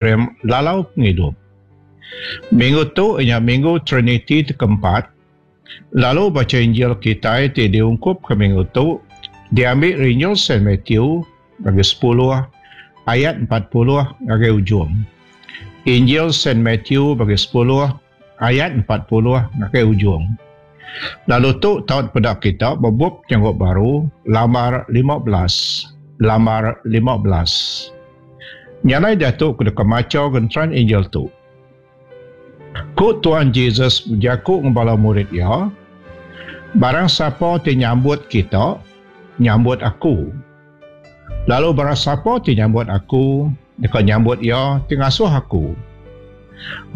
Program Lalau Pengidup. Minggu tu iya nya Minggu Triniti ti keempat, lalu bacha Injil kitai ti diungkupka minggu tu diambi ari Injil Saint Matthew bagi sepuluh ayat 40 ngagai ujung. Injil Saint Matthew bagi sepuluh ayat 40 ngagai ujung. Lalu tu tau dipeda kita ba bup Penyanggup Baru lambar 15. Lambar 15. Nya alai diatu ku deka macha genteran Injil tu. Ku Tuan Jesus bejaku enggau bala murid iya, Barang sapa ti nyambut kita, nyambut aku. Lalu barang sapa ti nyambut aku, deka nyambut iya ti ngasuh aku.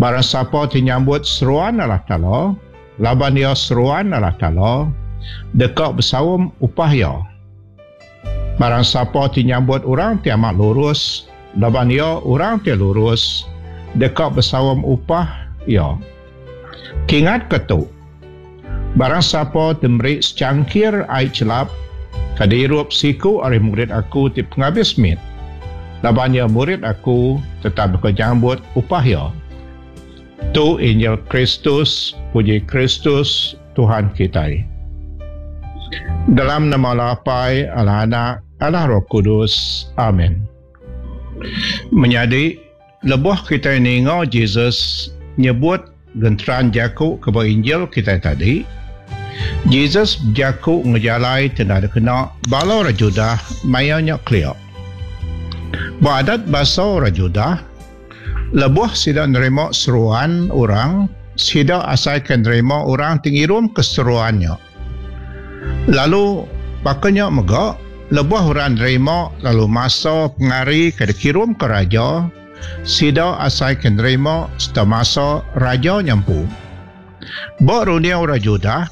Barang sapa ti nyambut seruan Allah Taala, laban iya seruan Allah Taala, deka besaum upah iya. Barang sapa ti nyambut orang ti amat lurus, laban iya orang ti lurus, deka besaum upah iya. Kingatka tu, barang sapa ti meri secangkir ai chelap ke diirup siku ari murid aku ti pengabis mit, laban iya murid aku, tetap deka nyambut upah iya. Tu Injil Kristus, puji Kristus, Tuhan kitai. Dalam nama Allah Apai, Allah Anak, Allah Roh Kudus. Amin. Menyadi, lebuh kitai ninga Jesus nyebut genteran jaku ke ba Injil kitai tadi, Jesus bejaku enggau jalai ti enda dikena bala orang Judah maya nya kelia. Ba adat basa orang Judah, Lebuh sida nerima seruan orang, sida asai ke nerima orang ti ngirumka seruan nya. Lalu baka nya mega, lebuh orang nerima lalu masa pengari ke dikirumka raja, sida asai ke nerima sereta masa raja nya empu. Ba runding orang Judah,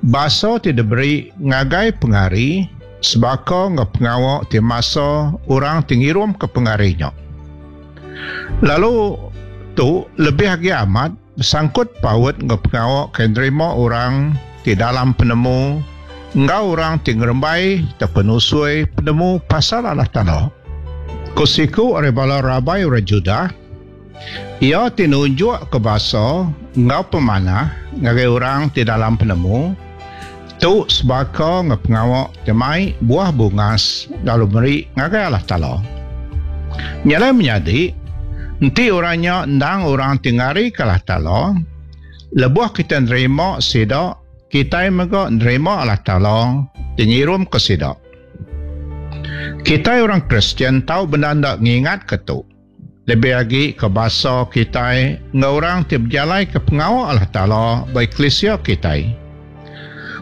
basa ti diberi ngagai pengari sebaka enggau pengawa ti masa orang ti ngirumka pengari nya. Lalu tu lebih agi amat besangkut paut enggau pengawa ke nerima orang ti dalam penemu enggau orang ti ngerembai tauka nusui penemu pasal Allah Taala. Ku siku ari bala rabai orang Judah, Iya ti nunjukka basa enggau pemanah ngagai orang ti dalam penemu, tu sebaka enggau pengawa ti mai buah bungas lalu meri ngagai Allah Taala. Nya alai menyadi, enti orang nya endang orang ti ngarika Allah Taala, lebuh kitai nerima sida, kitai mega nerima Allah Taala ti ngirumka sida. Kitai orang Kristian tau bendar enda ngingatka tu. Lebih agi ke basa kitai enggau orang ti bejalaika pengawa Allah Taala ba eklisia kitai.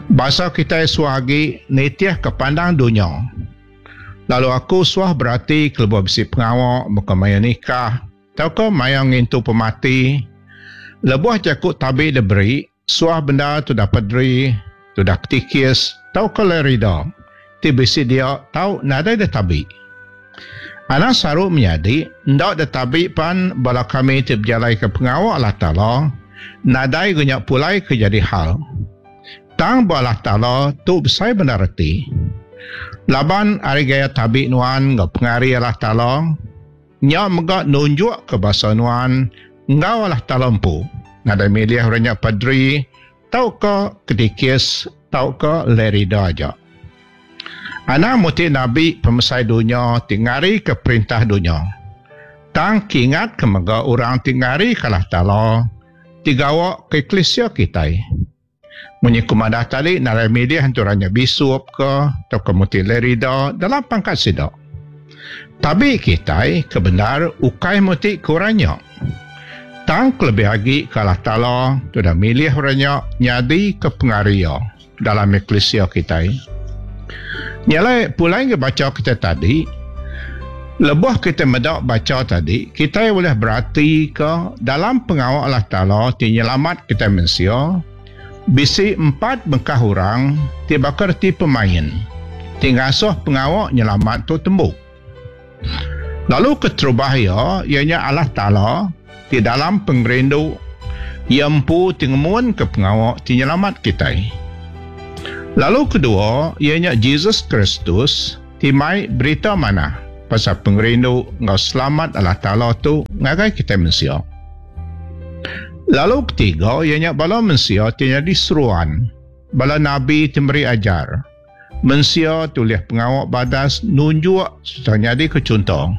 Basa kitai suah agi nitihka pandang dunya. Lalu aku suah berati kelebuh bisi pengawa baka maya nikah tauka maya ngintu pemati, lebuh jaku tabi diberi, Suah bendar tudah paderi, tudah ketikis tauka lerida ti bisi dia tau nadai ditabi. Anang saru menyadi enda ditabi pan bala kami ti bejalaika pengawa Allah Taala nadai ga nya pulai ke jadi hal. Tang ba Allah Taala tu besai bendar reti. Laban ari gaya tabi nuan enggau pengari Allah Taala, Nya mega nunjukka basa nuan enggau Allah Taala empu, nadai milih orang nya paderi tauka kedikis tauka lerida aja. Anang muti nabi pemesai dunya ti ngarika perintah dunya. Tang kingatka mega orang ti ngarika Allah Taala ti gawa ke eklisia kitai. Munyi ku madah tadi nadai milih enti orang nya bisup ke tauka muti lerida dalam pangkat sida. Tabi kitai ke bendar ukai muti ke orang nya. Tang kelebih agi ke Allah Taala ti udah milih orang nya nyadi ke pengari iya dalam eklisia kitai. Nya alai pulai ngagai bacha kitai tadi, lebuh kitai meda bacha tadi, kitai ulih beratika dalam pengawa Allah Taala ti nyelamat kitai mensia, bisi empat bengkah orang ti baka reti pemain ti ngasuh pengawa nyelamat tu tembu. Lalu keterubah iya, iya nya Allah Taala ti dalam pengerindu Iya empu ti ngemunka pengawa ti nyelamat kitai. Lalu kedua, iya nya Jesus Kristus ti mai Berita Manah. pasal pengerindu enggau selamat Allah Taala tu ngagai kitai mensia. Lalu ketiga iya nya bala mensia ti nyadi seruan, bala nabi ti meri ajar, mensia ti ulih pengawa badas nunjuk sereta nyadika chunto,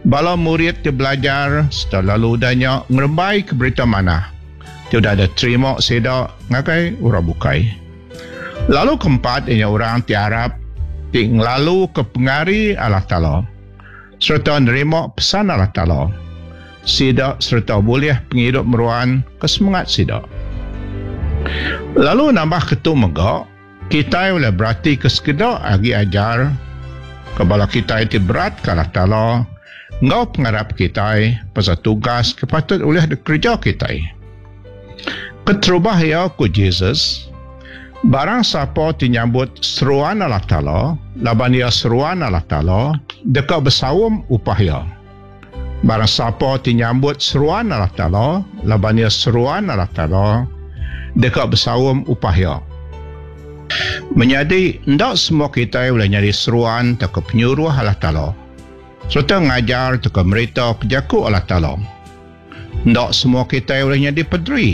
bala murid ti belajar sereta lalu udah nya ngerembaika berita manah ti udah diterima sida ngagai orang bukai. Lalu keempat iya nya orang ti arap ti ngelaluka pengari Allah Taala. Sereta nerima pesan Allah Taala sida sereta bulih pengidup meruan ke semengat sida. Lalu nambahka tu mega, kitai ulih beratika sekeda agi ajar ke bala kitai ti beratka Allah Taala enggau pengarap kitai pasal tugas ke patut ulih dikereja kitai. Keterubah iya ku Jesus, Barang sapa ti nyambut seruan Allah Taala, laban iya seruan Allah Taala, deka besaum upah iya. Barang sapa ti nyambut seruan Allah Taala, laban iya seruan Allah Taala, deka besaum upah iya. Menyadi, enda semua kitai ulih nyadi seruan tauka penyuruh Allah Taala, sereta ngajar tauka meritaka jaku Allah Taala. Enda semua kitai ulih nyadi paderi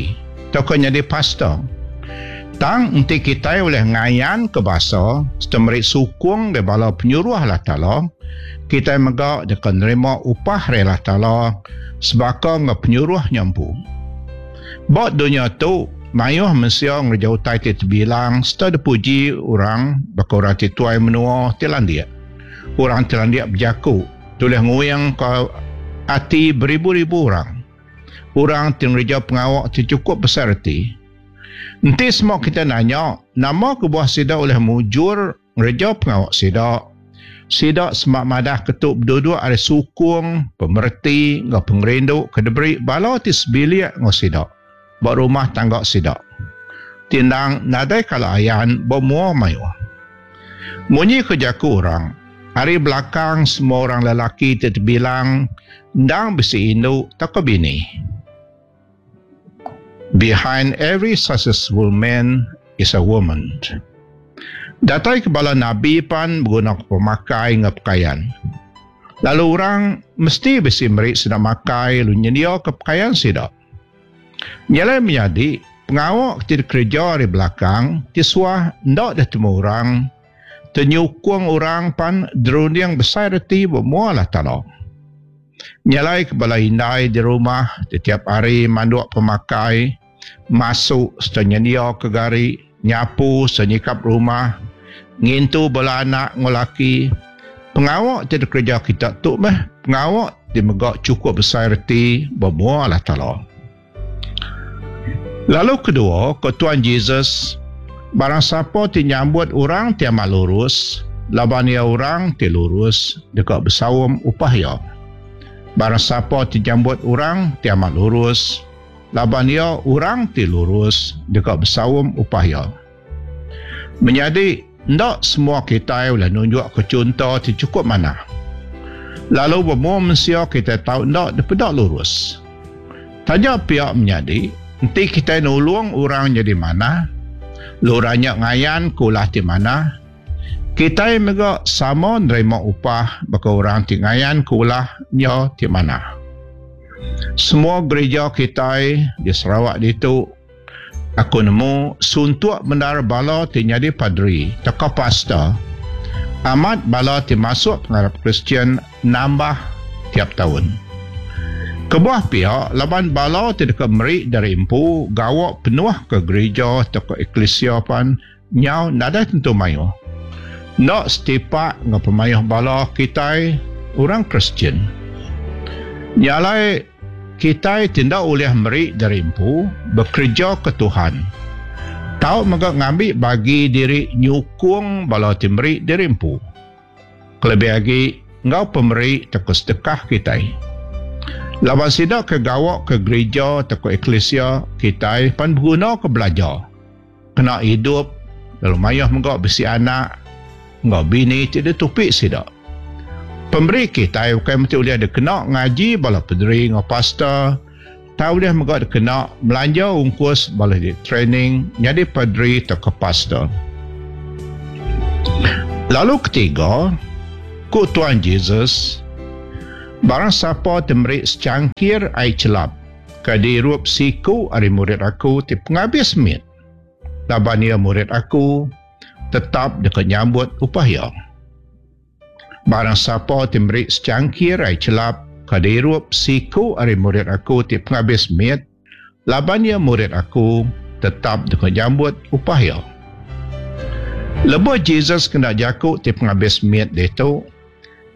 tauka nyadi pastor. Tang enti kitai ulih ngayanka basa sereta meri sukung ngagai bala penyuruh Allah Taala, kitai mega deka nerima upah ari Allah Taala sebaka enggau penyuruh nya empu. Ba dunya tu, mayuh mensia ngereja utai ti tebilang sereta dipuji orang baka orang ti tuai menua ti landik, orang ti landik bejaku, Tulih nguingka ati beribu-ribu orang. Orang ti ngereja pengawa ti chukup besai reti. Enti sema kitai nanya nama kebuah sida ulih mujur ngereja pengawa sida, sida sema madah ke tu beduduk ari sukung, pemereti enggau pengerindu ke diberi bala ti sebilik enggau sida ba rumah tangga sida ti endang nadai kala ayan ba mua mayuh. Munyi ke jaku orang, Ari belakang semua orang lelaki ti tebilang endang bisi indu tauka bini. Behind every successful man is a woman. Datai ke bala nabi pan begunaka pemakai enggau pekayan. Lalu orang mesti bisi meri sida makai lalu nyendiaka pekayan sida. Nya alai menyadi, pengawa ti dikereja ari belakang ti suah enda ditemu orang Tenyukung orang pan derunding besai reti ba mua Allah Taala. Nya alai ke bala indai di rumah tetiap hari manduk pemakai, masu sereta nyendiaka gari, nyapu sereta nyikap rumah, ngintu bala anak enggau laki, pengawa ti dikereja kita tu meh pengawa ti mega chukup besai reti ba mua Allah Taala. Lalu kedua, ku Tuan Jesus, Barang sapa ti nyambut orang ti amat lurus, laban iya orang ti lurus, deka besaum upah iya. Barang sapa ti nyambut orang ti amat lurus, laban iya orang ti lurus, deka besaum upah iya. Menyadi, enda semua kitai ulih nunjukka chunto ti chukup manah. Lalu bemua mensia kitai tau enda dipeda lurus. Taja pia menyadi, enti kitai nulung orang nyadi manah, lalu orang nya ngayanka ulah ti manah, kitai mega sama nerima upah baka orang ti ngayanka ulah nya ti manah. Semua gerija kitai di Sarawak ditu, aku nemu suntuk bendar bala ti nyadi paderi tauka pastor. Amat bala ti masuk pengarap Kristian nambah tiap taun. Kebuah pia laban bala ti deka meri diri empu gawa penuh ke gerija tauka eklisia pan nyau nadai tentu mayuh. Enda setipak enggau pemayuh bala kitai orang Kristian. Nya alai Kitai ti enda ulih meri diri empu bekereja ke Tuhan, tau mega ngambi bagi diri nyukung bala ti meri diri empu, kelebih agi enggau pemeri tauka sedekah kitai. Laban sida ke gawa ke gerija tauka eklisia kitai pan begunaka belajar, kena idup lalu mayuh mega bisi anak enggau bini ti ditupi sida. Pemeri kitai ukai mesti ulih dikena ngaji bala pederi enggau pastor tang ulih mega dikena melanja ungkus bala ti training nyadi paderi tauka pastor. Lalu ketiga, Ku Tuan Jesus, Barang sapa ti meri secangkir ai chelap ke diirup siku ari murid aku ti pengabis mit, laban iya murid aku, tetap deka nyambut upah iya. Barang sapa ti meri secangkir ai chelap ke diirup siku ari murid aku ti pengabis mit, laban iya murid aku, tetap deka nyambut upah iya. Lebuh Jesus kena jaku ti pengabis mit ditu,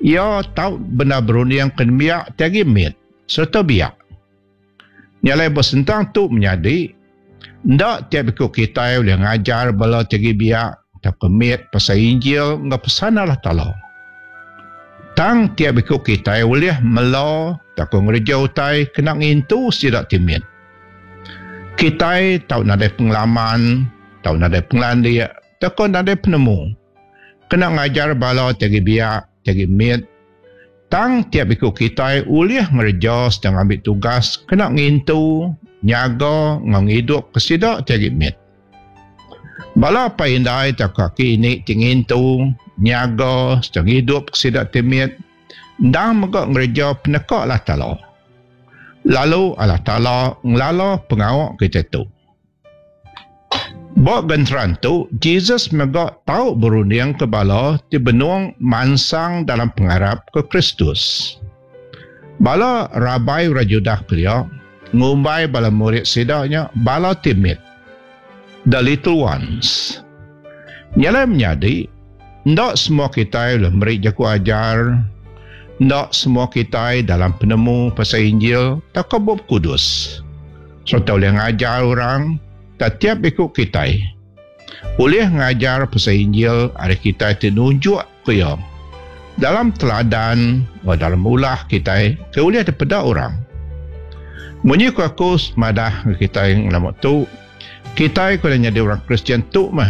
iya tau bendar berunding ke nembiak ti agi mit sereta biak. Nya alai ba sentang tu menyadi, enda tiap iku kitai ulih ngajar bala ti agi biak tauka mit pasal Injil enggau pesan Allah Taala. Tang tiap iku kitai ulih mela tauka ngereja utai kena ngintu sida ti mit. Kitai tau nadai pengalaman, tau nadai pengelandik tauka nadai penemu kena ngajar bala ti agi biak, ti agi mit. Tang tiap iku kitai ulih ngereja sereta ngambi tugas kena ngintu, nyaga enggau ngidupka sida ti agi mit. Bala apai indai tauka aki ini ti ngintu, nyaga sereta ngidupka sida ti mit endang mega ngereja peneka Allah Taala. Lalu Allah Taala ngelala pengawa kitai tu. Ba genteran tu, Jesus mega tau berundingka bala ti benung mansang dalam pengarap ke Kristus. Bala rabai orang Judah kelia ngumbai bala murid sida nya bala ti mit, the little ones. Nya alai menyadi, enda semua kitai ulih meri jaku ajar, enda semua kitai dalam penemu pasal Injil tauka Bup Kudus sereta ulih ngajar orang tetiap iku kitai ulih ngajar pasal Injil ari kitai ti nunjukka iya dalam teladan enggau dalam ulah kitai ke ulih dipeda orang. Munyi ku aku madah ngagai kitai ngelama tu, kitai ke udah nyadi orang Kristian tu meh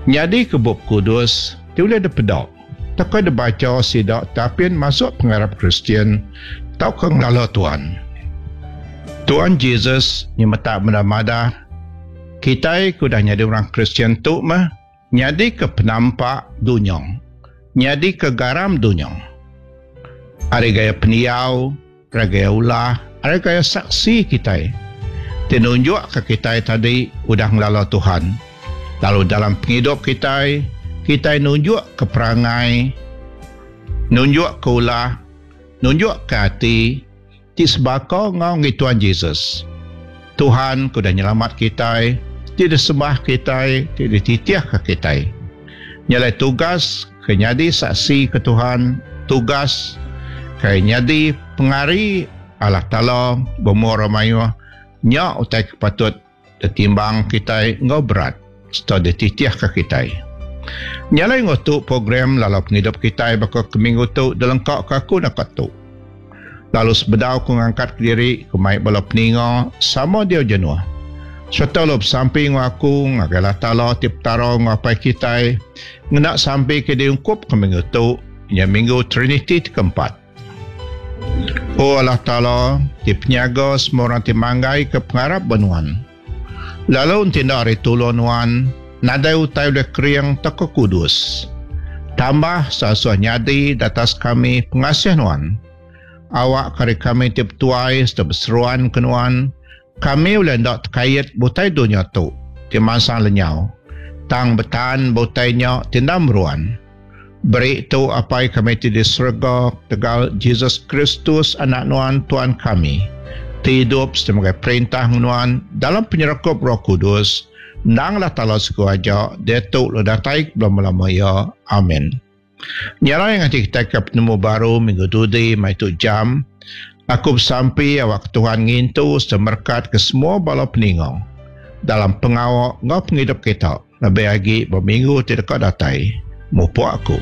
nyadika Bup Kudus ti ulih dipeda tauka dibacha sida ti apin masuk pengarap Kristian tauka ngelala Tuan. Tuan Jesus nyemetak meda madah, kitai ke udah nyadi orang Kristian tu meh nyadika penampak dunya, nyadika garam dunya. Ari gaya pendiau, ari gaya ulah, ari gaya saksi kitai ti nunjukka kitai tadi udah ngelala Tuhan. Lalu dalam pengidup kitai, kitai nunjukka perangai, nunjukka ulah, nunjukka ati ti sebaka enggau enggi Tuan Jesus. Tuhan ke udah nyelamat kitai, ti disembah kitai, ti dititihka kitai. Nya alai tugas ke nyadi saksi ke Tuhan, tugas ke nyadi pengari Allah Taala bemua orang mayuh, nya utai ke patut ditimbang kitai enggau berat sereta dititihka kitai. Nya alai enggau tu program lalau pengidup kitai baka ke minggu tu dilengkaka aku naka tu. Lalu sebedau ku ngangkat kediri ku mai bala peninga sama diau jenuh sereta lalu besampi enggau aku ngagai Allah Taala ti Petara enggau Apai kitai ngena sampi ke diungkupka minggu tu nya minggu Triniti ti keempat. O Allah Taala ti penyaga semua orang ti manggaika pengarap ba Nuan. Lalu enti enda ari tulung Nuan, nadai utai ulih kering tauka kudus. Tambah seasuh nyadi datas kami pengasih Nuan. Awakka ari kami ti betuai sereta beseruan ke Nuan, kami ulih enda tekait ba utai dunya tu ti mansang lenyau, tang betan ba utai nya ti enda meruan. Beri tu Apai kami ti di serega ketegal Jesus Kristus Anak Nuan Tuan kami, ti idup sereta megai perintah enggau Nuan dalam penyerakup Roh Kudus, endang Allah Taala siku aja, diatu lalu datai ke belama-lama iya. Amin. Nya alai nganti kitai ke penemu baru minggu dudi mai tu jam, aku besampi awakka Tuhan ngintu sereta merekatka semua bala peninga dalam pengawa enggau pengidup kita. Lebih agi ba minggu ti deka datai, mupuk aku.